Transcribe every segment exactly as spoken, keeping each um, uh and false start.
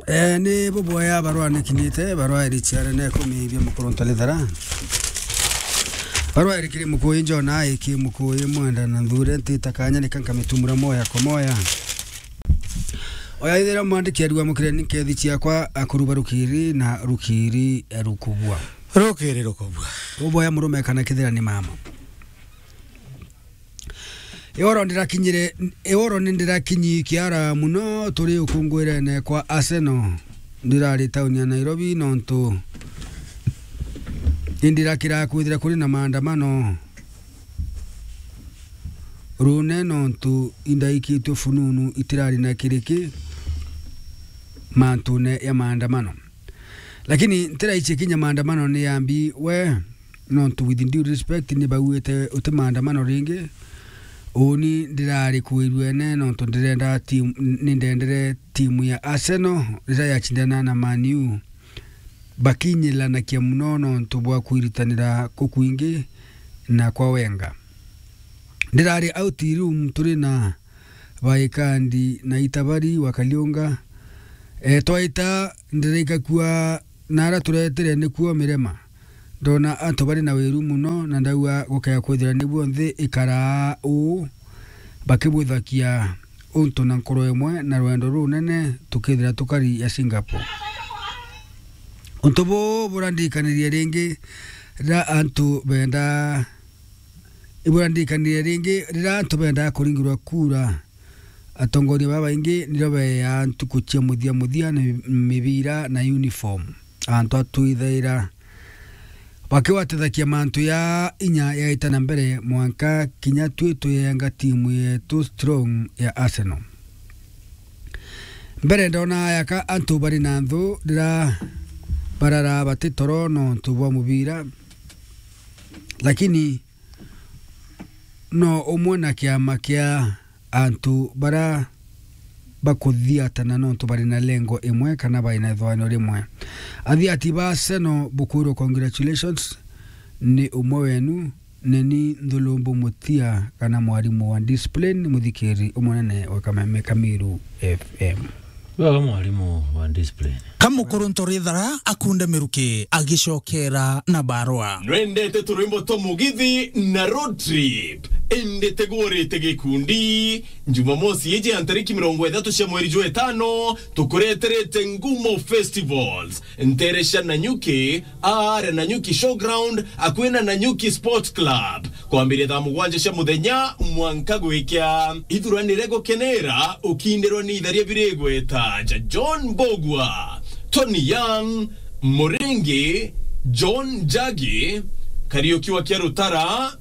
Eh, ni buboya barua nikinyite, barua iri ciare na ikumi bia Mukuruntu Rithara. Barua iri kiri Mukuyu Njona, iki Mukuyu Mwenda na Nthure, ntita kanya nika nkamitumura moya kwa moya. Oya ithira mwandiki arua mukire ni nkethi ciakwa, akuru ba rukiri na rukiri rukubua. Rukiri rukubua. Buboya murume kana kithira ni mama. Ioro ndirakinyire, ioro ni ndirakinyi kiara muno turi ukungwirene kwa Arsenal. Ndirari tauni ya Nairobi nontu indirakira kwithira kuri na maandamano rune nontu indaikitwe fununu itirari na kiriki mantune ya maandamano. Lakini ntiraichia kinya maandamano ni yambi we, nontu with due respect ni bauite uti maandamano ringi. Uni ndirari kuirwene nontu ndirenda team, ni ndendere timu ya Arsenal riria yachindana na Man U. Bakinyilanakia muno nontu bwa kwiritanira kukwingi na kwa Wenger. Ndirari out room turi na Baikandi na Itabari wa Kaliunga. E, twaita ndiraikakua na ara turetere nikuo mirema. Ndona antu bari na wiru muno na ndauga gukea kwithira nibuo nthi ikaraa uu bakibuthakia untu na nkoro imwe na rwendo runene tukithira tukari ya Singapore. Untu buu burandirikanirie ringi riria antu benda, iburandirikanirie ringi riria antu bendaga kuringirwa kura. Atongoria babaingi nirio beeaa ntuku cia muthia muthia na mibira na uniform. Antu atwithaira bakiwatethakia mantu ya inya yaita na mbere mwanka kinya twi tuyenga timu yetu strong ya Arsenal. Mbere ndona ayaka antu bari na nthu rira barara bati toro nontu bwa mubira, lakini no umwe na kiama kia antu bara bakuthiatana nontu bari na lengo imwe kana bari na ithwanio rimwe. Athiati ba Arsenal bukwirwo congratulations, ni umwe wenu, neni Nthulumbu Mutia kana mwarimu wa discipline, muthikiri umunene wa Kameme Kamiru F M. Wega mwarimu wa discipline. Kamukuruntu Rithara akunde miruki agicokera na barua. Nwendete turwimbo twa mugithi na road trip? Indi tigurite gikundi. Jumamosi iji ya ntariki mirongo ithatu cia mweri jwa itano, tukureterete Ngumo Festivals, ntere cia Nanyuki, aare Nanyuki Showground, akui na Nanyuki Sport Club, kwambiria thaa mugwanja cia muthenya mwanka gwikia. Ithuranire gukenera ukindirwa ni itharia biri igweta ja John Mbugua, Tony Young, Muringi, John Njagi, Kariuki wa Kiarutara,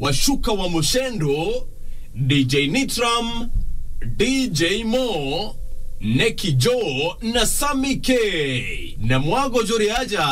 Washuka wa Mushendo, D J Nitram, D J Mo, Neki Joe na Sammy K. Na mwago juri aja,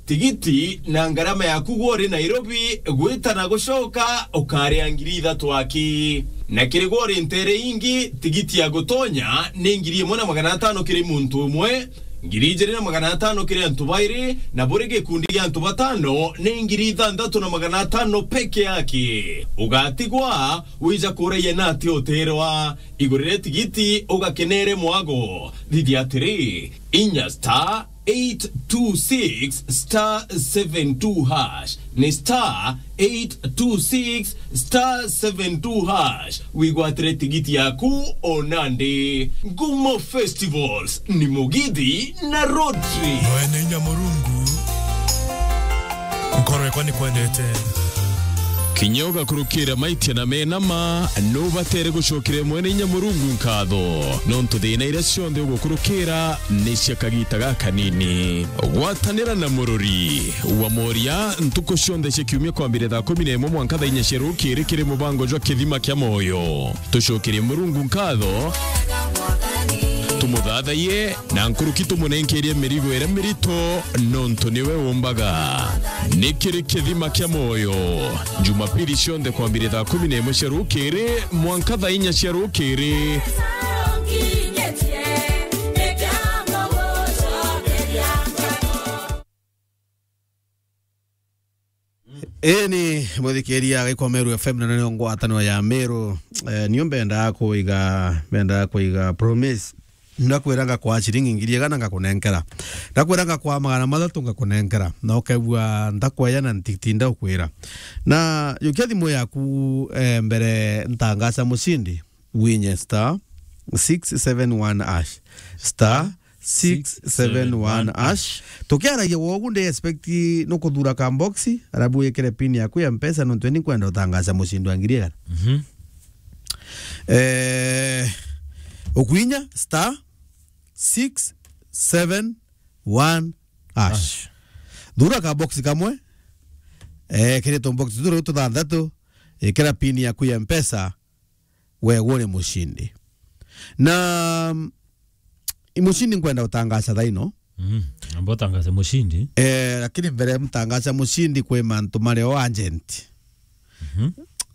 tigiti na ngarama yaku gwa uri Nairobi gwita na gucoka ukaria ngiri ithatu aki. Na kiri gwa uri ntere ingi, tigiti ya gutonya ni ngiri imwe na magana atano kiri muntu umwe, ngiri ijiri na magana atano kiri antu bairi, na buri gikundi gia antu batano ni ngiri ithanthatu na magana atano peke yake. Ugatigwa wija kuraia na ati utirwa. Igurire tigiti ugakenere mwago. Thithia atiri, inya star eight two six star seven two hash. Ni star eight two six star seven two hash. Wigwatire tigiti yaku o nandi. Ngumo Festivals ni mugithi na road trip. Mwene inya Murungu, nkoro yakwa ni kwendete. Kinya ugakurukira maitia na menama, nubatere gucokera Mwene inya Murungu nkatho, nontu thina iria cionthe ugukurukira ni cia kagita gakanini. Gwatanira na murori wa moria ntuku cionthe cia kiumia kwambiria thaa kumi na imwe mwanka thaa inya cia rukiri kiri mubango jwa Kithima kia Moyo. Tucokerie Murungu nkatho, tumuthathaiye na nkuruki tumunenkerie mirigo iria mirito, nontu niwe umbaga. Ni kiri Kithima kia Moyo, Jumapili cionthe kwambiria thaa kumi na imwe cia rukiri mwanka thaa inya cia rukiri. Ii ni muthikiria agikwa Meru F M na nio ngwataniro ya Meru. Eh, nio mbendaa kuiga, mbendaa kuiga promise. Ndakwira ngakwa ciringi ngiri igana ngakunenkera. Ndakwira ngakwa magana mathatu ngakunenkera. Na ukegua ndakweya na ntitinda ukwira. Na yukia thimu yaku, eh, mbere ntangaca mucindi. Winye star six seven one hash. Star six seven one hash. Tukiaragia wogu ndi expect nukuthura ka box, arabu wikire pin yaku ya Mpesa nontu ni kwenda utangaca mucindi wa ngiri igana. Mhm. Eh, ukwinya star six seven one hash. Hash. Thura ka box kamwe, eh, kiri tu box turi tuthanthatu, ikira pin yaku ya Mpesa, we uri mucindi. Na, mm, mucindi nkwenda utangaca thaino. Mhm. Amba utangace mucindi. Eh, lakini mbere mtangaca mucindi kwi mantu mari o agent. Mhm.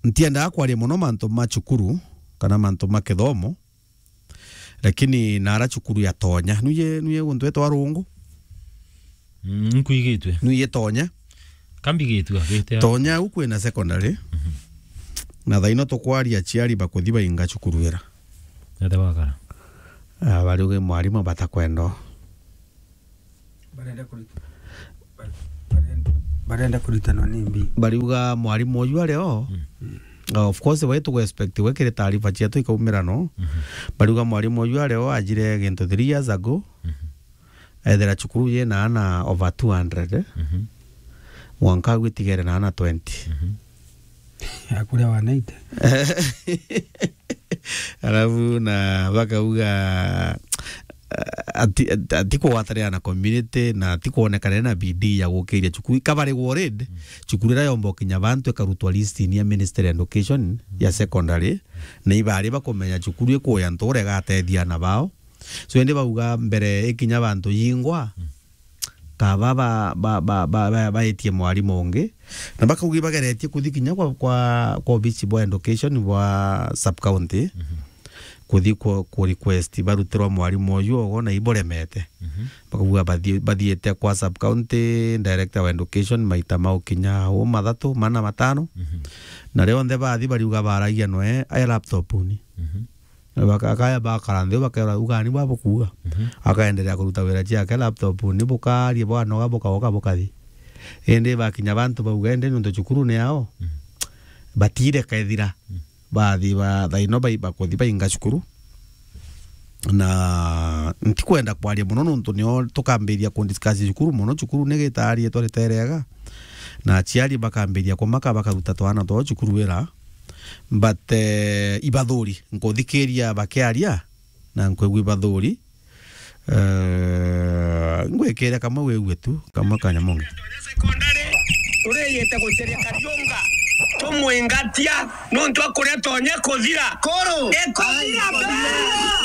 Ntiendaga kwaria mono mantu ma cukuru kana mantu ma kithomo, lakini nara cukuru ya Tonya. Nuye, nuye guntu etwa Rungu. Mm, nkwigitwe. Nuye Tonya. Kambigitwe, agite a- Tonya u kwina secondary. Mhm. Na thaino tukwaria aciari bakuthi bainga cukuru ira. Nete wakara. Ah, bariuge mwarimu batakwenda. Barenda kurita-, barenda, barenda kuritanwa ni mbi. Bariuga mwarimu uyu ari o. Mm. Ah, of course, we tugu expect we kiri taarifa cietu ikaumira no. Mhm. Bariuga mwarimu uyu ari o ajire gintu three years ago. Mhm. Ethira cukuru yina ana over two hundred, eh? Mhm. Mwanka gwitigere na ana twenty. Mhm. Akuria wa ninety. Alafu na bakauga, ah, ati, ati, ati kugwatanira na community na ati kwonekana na bidii ya gukiria cukuru. Ikabari worried, mm, cukuru ira yomba ukinya bantu ikarutwa list ni ya Ministry ya Education ya secondary, na ibari bakumenya cukuru ikuya ntu uria igatethia ana bao. So, indi bauga mbere ikinya bantu yingwa, mm, kaba ba, ba, ba, ba, ba, baetie mwarimu ungi, na bakauga ibageretie kuthi kinya kwa, kwa, kwa obici bwa education bwa sub county, mhm, kuthi ku, ku request barutirwa mwarimu uyu ogo na iburemete. Mhm. Bakauga bathi-, bathiite kwa sub county director wa education maita mau kinya u mathatu, mana, matano. Mhm. Na rionthe bathi bariuga baragia noe ae laptop ni. Mhm. Baka-, akaya bakara nthi, bakera ugani bwa bukuuga. Mhm. Akaendelea kuruta wira ciake, laptop ni bukarie bwanoga, bukaoka, bukathi. Indi bakinya bantu bauga, indi nontu cukuru ni yao, mhm, batire kethira. Mhm. Bathi ba, thaino bai-, bakuthi bainga cukuru. Na ntikwenda kwaria mono nontu nio tukambiria kundiscuss cukuru mono. Cukuru ni gitaari etwa riterega. Na aciari bakambiria kumaka, bakaruta twana twao cukuru ira. But, eh, ibathuri, nkuthikiria bakiaria, na nkwigua ibathuri. Eh, ngwikire kamwe wigue tu, kamwe ka Nyamonge. Turiyite guceria Kariunga, tumwingatia, nontu akuria Tonya kuthira. Koro. Ikuthira. Ai, baa.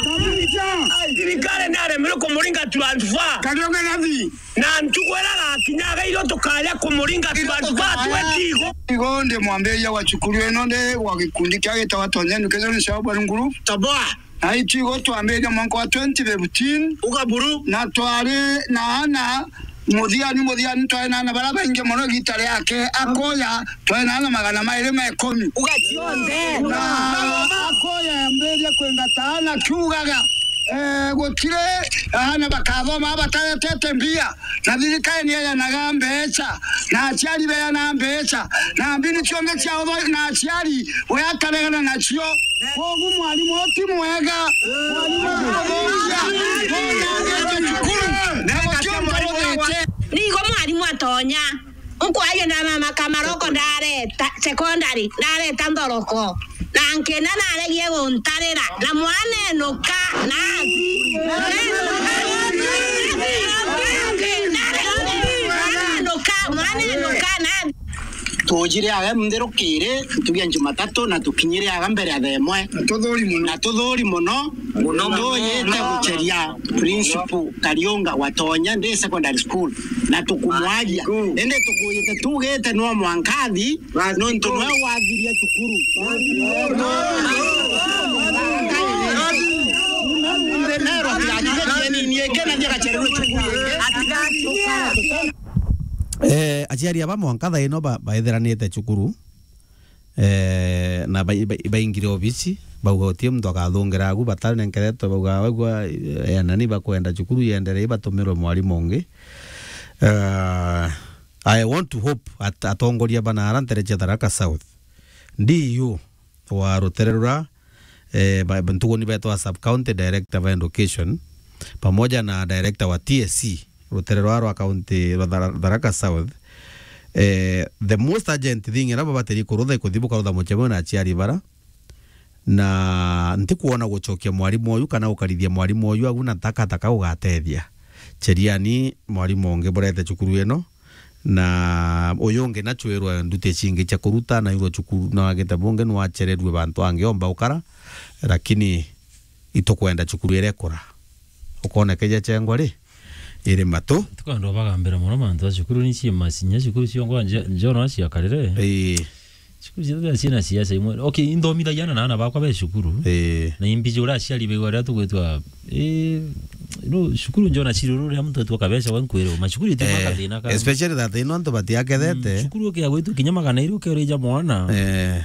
Kabisa. Ai, thirikari ni aremire kumuringa transfer. Kariunga nathi. Na ntuku ira agakinya, agairwo tukaja kumuringa, tukaja twetigo. Igo ndi mwambiria wa cukuru ino, ndi wa gikundi kia gitawa Tonya Education Shelburne Group. Toboa. Na itigo twambiria mwanka wa twenty fifteen. Uga buru. Na twari na ana muthiani, muthiani twari na ana bara baingi mono igita riake. Akoya, twari na ana magana mairi ma ikumi. Uga cionthe. Na akoya yambiria kwingata ana kiugaga, eh, gutiri ana bakathoma bataretete mbia. Na thirikari ni eanaga mbeca, na aciari beana mbeca, na mbini cionthe cia utho-, na aciari we akaregana nacio. Kogu mwarimu uti mwega. Mwarimu athomithia. Nigo mwarimu atonya. Nkwaria na mama Kamaroko ndareta secondary, ndareta nthoroko. Na nkina naregie guntarira, na mwana enuka, nathi. Mwana enuka, mwana enuka, nathi. Tujire aga mtherukire, ntugi ya Jumatatu, na tukinyire aga mbere ya thaa imwe. Na tuthuri mono. Na tuthuri mono. Mono, mono. Tuyite guceria principal Kariunga wa Tonya Day Secondary School, na tukumwagia. Indi tukuyite tugite no mwanka athi, nontu nwe wathiria cukuru. Eh, aciari aba mwanka thaa ino ba-, baithiranite cukuru. Eh, na bai-, bai-, baingire obisi, bauga utie muntu akathungira agu, batanenkeretwe, bauga, "Wegua, eh, anani bakwenda cukuru yenderee, batumirwe mwarimu ungi." Eh, I want to hope at-, atongoria bana ara ntere cia Tharaka South, D U wa rutere rura, eh, ba-, ntuguni betwa sub county director ba education, pamoja na director wa T S C, rutere rwa, rwa county rwa Thara-, Tharaka South, eh, the most urgent thing ira babatiri kurutha ikuthi bukarutha mucemo na aciari bara, na ntikwona gucokia mwarimu uyu kana gukarithia mwarimu uyu agu na takataka ugatethia. Cheriani mwarimu ungi burete cukuru ino, na uyu ungi nachwirwe nduti cingi cia kuruta, nairwe cukuru, na agite bungi nwachererue bantu angi omba ukara, lakini itukwenda cukuru irekura. Ukonekeja chengwa ri, iri matu. Tukwenda bagambira mono mantu a cukuru ni cie masinya, cukuru ciongo nje-, njono aciakarire. Ii. Cukuru ciothe ciina siasa imwe. Okay, inthomithagia na ana bakwa be cukuru. Ii. Na imbiji uria aciari bigwa riria tugwitwa, ii, no, cukuru njo na ciruru riria muntu etwa kabeca we nkwire, macukuru iti Eh, makathina ka. Especially that ino antu batiakethete. Mm, cukuru ukia gwitwa kinya magana iri ukerija mwana. Eh.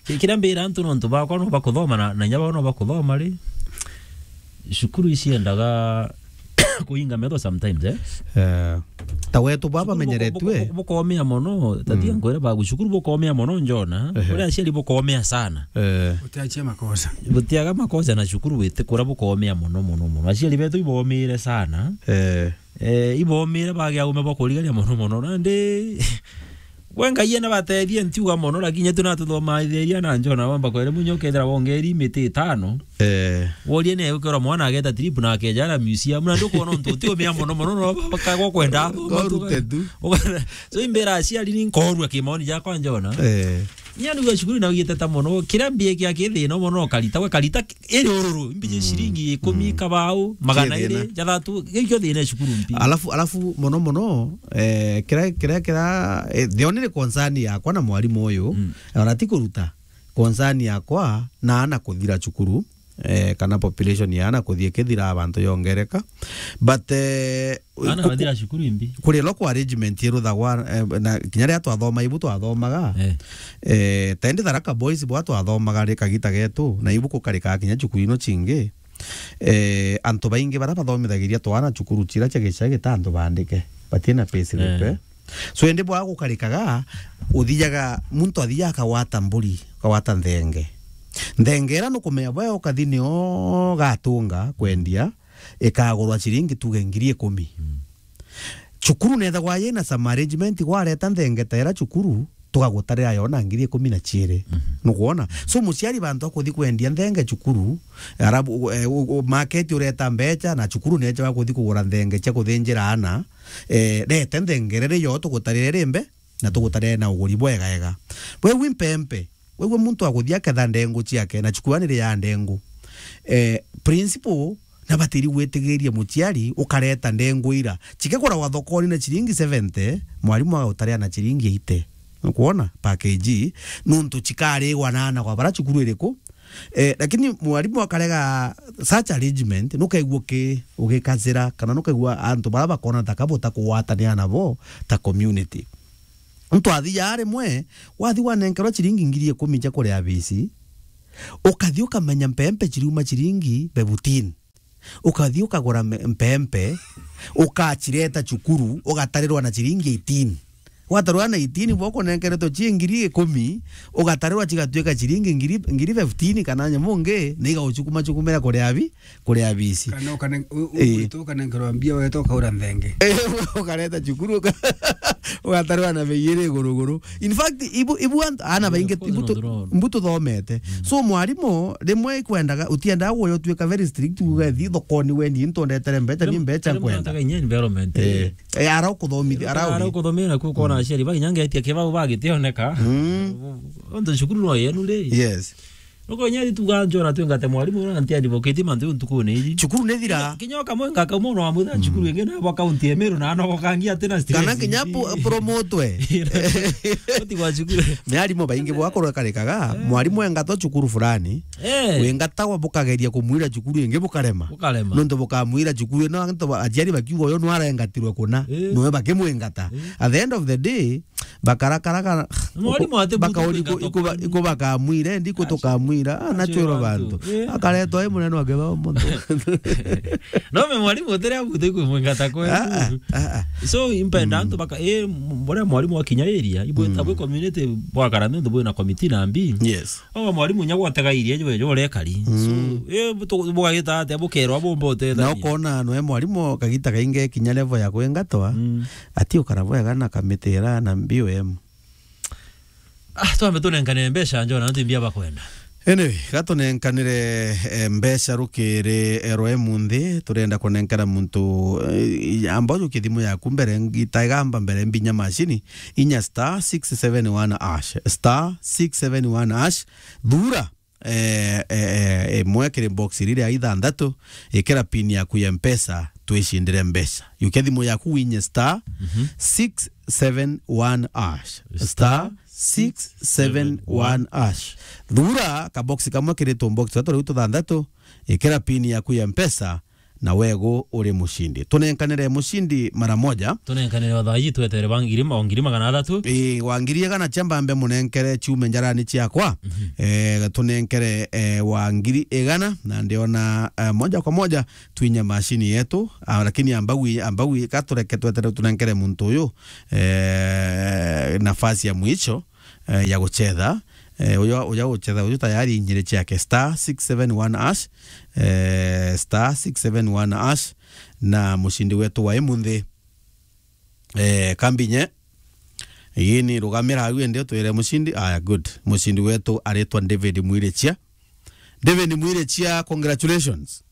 Ki-, kiria mbira antu nontu bakwa no bakuthoma na, na inya bao no bakuthoma ri. Cukuru iciendaga kuinga metho sometimes, eh? Eh, ta wetu baba Cukuru buko-, menyeretue. buko-, bukomea mono, tatia Mm. nkwira bagu, cukuru bukomea mono njona, Ehe. Uria aciari bukomea sana. Eh. Utiachia makosa. Butiaga makosa na cukuru wite kura bukomea mono, mono, mono. Aciari betu ibomire sana. Eh. Eh, ibomire bage aume bakurigaria mono, mono. Nandi, we Ngai ena batethie ntiuga mono, lakini tu natuthomaithiria na njona wamba kwere munyo kethira wongeri miti itano. Eh. Worie ne ukera mwana ageta trip na akejara museum, na ndukwona untu utiumia mono mono, no bakagwa kwenda athoma tu. Korute tu. Uga-, so imbira aciari ni nkorua kimaoni jakwa njona. Eh. Nya nigua cukuru na ugiteta mono, kiria mbie kia kithina mono, karita, we karita iri ururu, mbiji Mm. ciringi ikumi, Mm. kabau, magana iri, Kithina. jathatu, gikio thina cukuru mpi. Alafu, alafu mono mono, eh, kiria, kiria, kiria, eh, the only concern yakwa na mwarimu uyu, Mm. ona ti kuruta, concern yakwa na ana kuthira cukuru, eh, kana population ya ana kuthii ikithira, abantu yongereka. But, eh, Ana ku-, bathira cukuru imbi? Kuri local arrangement iruthagwa, eh, na kinya riria twathoma ibu twathomaga, Eh. eh, ta indi Tharaka Boys bwa twathomaga ri kagita getu, na ibu kukarikaga kinya cukuru ino cingi. Eh, antu baingi bara bathomithagiria twana cukuru cira cia gicagi ta antu bandike, batina payslip, Eh. eh. So, indi bwa gukarikaga, uthiaga, muntu athiaga akagwata mburi, akagwata nthenge. Nthenge ira nukumenya bwe ukathi nio gatunga kwendia, ikagurwa ciringi tuge ngiri ikumi. Mm. Cukuru nethagwa yina some arrangement, gwareta nthenge ta ira cukuru, tugagutarira yo na ngiri ikumi na ciiri. Mhm. Nukwona? So, muciari bantu akuthi kwendia nthenge cukuru, arabu, eh, u-, u-, market ureta mbecha, na cukuru necha bakuthi kugura nthenge cia kuthinjira ana, eh, rete nthenge riri yo tugutarire rimbe, na tugutarire na uguri bwega ega. Bwe wi mpempe, Wigua muntu akuthia aketha ndengu ciake, na cukuru ni ria ndengu. Eh, principal na batiri gwitigiria muciari ukareta ndengu ira. Cikeguragwa thokoni na ciringi seventy, mwarimu agautarira na ciringi eighty. Nukwona? Package, nuntu cikarigwa na ana kwa bara cukuru iriku. Eh, lakini mwarimu akarega such arrangement, nukaigua uki-, ugikazira, kana nukaigua antu bara bakona ta kabuta kugwatanira nabo ta community. Muntu athiaga rimwe, wathi wanenkerwa ciringi ngiri ikumi cia kuria bisi, ukathi ukamenya mpempe ciriuma ciringi fifteen. Ukathi ukagura me-, mpempe, ukacireta cukuru, ugatarirwa na ciringi eighteen. Watarirwa na eighteen, bo kunenkeretwe ci ngiri ikumi, ugatarirwa cigatuika ciringi ngiri, ngiri fifteen kana nyamu ngi, na igaucukuma cukumira kuria bi-, kuria bisi. Kana ukane-, u-, u-, Ii. Ugwita ukanenkerwa mbia, weta ukaura nthenge. Eh, ukareta cukuru, uka-, ugatarwa na bei iri iguru iguru. In fact, ibu, ibu ant-, ana Yeah, baingi of course, ibu tu-, no, no. Ibu tuthomete. Mm. So, mwarimu, rimwe ikwendaga, utiendaga guyo tuika very strict, uge thi thokoni wendi, into ndetere mbecha, ni Rim-, mbecha rimwe nkwenda. Nataga inya environment. Eh, eh, ara ukuthomithia, ara Ara uri. Ukuthomera ku kona Mm. aciari, ba inya ngetia kibau bagitioneka. Mm. Onto cukuru no yenu ri? Yes. Oko nyari tuga njora twengate mwarimu na nti advocate mantu ntukune iji. Cukuru ni thira. Kinya, kinya kamwe ngaka mwana wa mutha cukuru ingi na bwa county ya Meru na no kangi atina stress. Kana kinya pu-, promotwe. Uti kwa cukuru. Ni arimu baingi bwakorwo karikaga, mwarimu engatwa cukuru fulani. Eh. Wengatagwa bukageria kumwira cukuru ingi bukarema. Bukarema. Nontu bukamwira cukuru ino, antu ba-, aciari bakiuga uyu nwarengatirwe kuna. Eh. Noe bakimwengata. Eh. At the end of the day, bakarakaraga, mwarimu ati bakauri butu iku-, ikuba-, ikubakamwire, ndi kutukamwira, ah, nachwirwa bantu. Eh. Akaretwa i munene wa kithomo. No me mwarimu utire abutu iku mwengata kwe. Ah, ah, ah, ah. So, impenda antu baka, eh, m-, mbona mwarimu wa kinya area, ibwe, abwe community bwakara nontu bwina committee na mbi. Yes. O mwarimu nya gwategairie jwe, jwe urekari. So, eh, buto-, bugagita atia, bukerwa bumba utethania. Na ukona nwe mwarimu kagita kaingi kinya level ya kwingatwa, ati ukara bwega na kamiti ira na B O M. Ah, twambe tunenkanire mbeca, njona, nontu mbia bakwenda. Anyway, gatunenkanire, eh, mbeca rukiri, eh, rwa imunthi, turenda kunenkera muntu, eh, amba ujukie thimu yaku mbere, ngita igamba mbere mbinya macini, inya star six seven one hash, star six seven one hash, thura, eh, eh, eh, imwe kiri box riri ya ithanthatu, ikira pin yaku ya Mpesa, twicindire mbeca. Jukia thimu yaku winye star six seven one hash. Star six seven one hash. Thura kabox kamwe kiri tubox tatu riu tuthanthatu, ikira pin yaku ya Mpesa, na wegu uri mucindi. Tunenkanire mucindi mara moja. Tunenkanire o thaa iji twetere ba ngiri ma-, o ngiri magana athatu. Ii, wa ngiri igana cia mbambe munenkere ciume njarani ciakwa. Eh, tunenkere, eh, wa ngiri igana, na ndiona, eh, moja kwa moja twinye macini yetu. Ah, lakini ambagwi, ambagwi, ka tureke twetere tunenkere muntu uyu, eh, nafasi ya mwisho, eh, ya guchetha. Eh, uyo, uyo guchetha uyu tayari inyiri ciake star six seven one hash, eh, star six seven one hash, na mucindi wetu wa imunthi, eh, kambinye. Yini rugamira au ende twire mucindi. Aya, good. Mucindi wetu aritwa David Mwirichia. David Mwirichia, congratulations.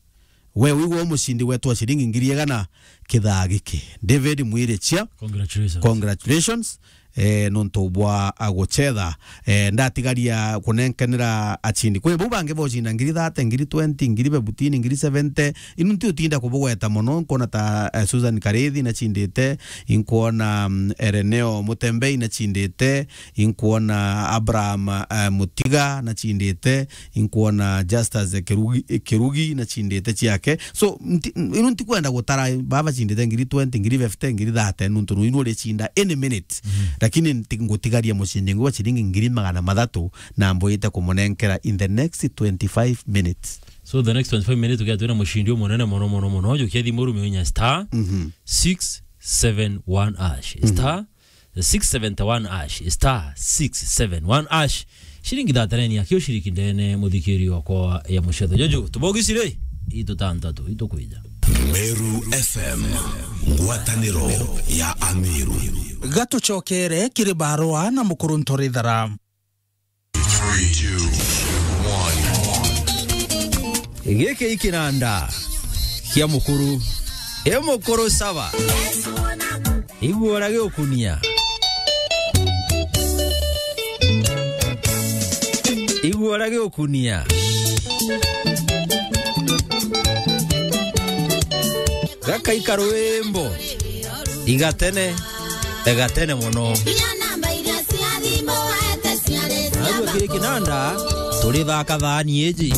We wigwa umucindi wetu wa ciringi ngiri igana kithaa giki. David Mwirichia. Congratulations. Congratulations. Eh, nontu bwa aguchetha. Eh, ndatigaria kunenkanira acindi. Kwi bau bangi bocinda ngiri thate, ngiri twenty, ngiri fifteen, ngiri seventy. Inu nti utinda kubugweta mono, nkuona ta, eh, Susan Karithi nachindite, inkuona, mm, Ereneo Mutembei nachindite, inkuona Abraham, eh, Mutiga nachindite, inkuona Justus Kirugi, Kirugi nachindite ciake. So, nti-, inu ntikwenda gutara baba bacindite ngiri twenty, ngiri fifty, ngiri thate, nuntu nu inu uricinda any minute. Lakini nti-, ngutigaria mucindi ngwa ciringi ngiri magana mathatu na mbwite kumunenkera in the next twenty-five minutes. So the next twenty-five minutes, tukia twina mucindi umunene mono, mono, mono. Jukia thimu rume unya star six seven one hash. Star six seven one hash, star six seven one hash. Ciringi thate ni akio ciriki ndene, muthikiri wakwa ya mucetho. Jojo, tubogi cire, itu tantatu, itu kwija. Meru F M, ngwataniro ya Ameru. Gatucokere kiri barua na mukuru Ntorithara. Giki ikinanda kia mukuru. E mukuru saba. Igua uria giukunia. Igua uria giukunia. Gakaika rwimbo. Igatene, igatene mono. Nginya namba iria cia thimu waete ciarĩ cia. Narua kiri kinanda, turi thaka thani iji.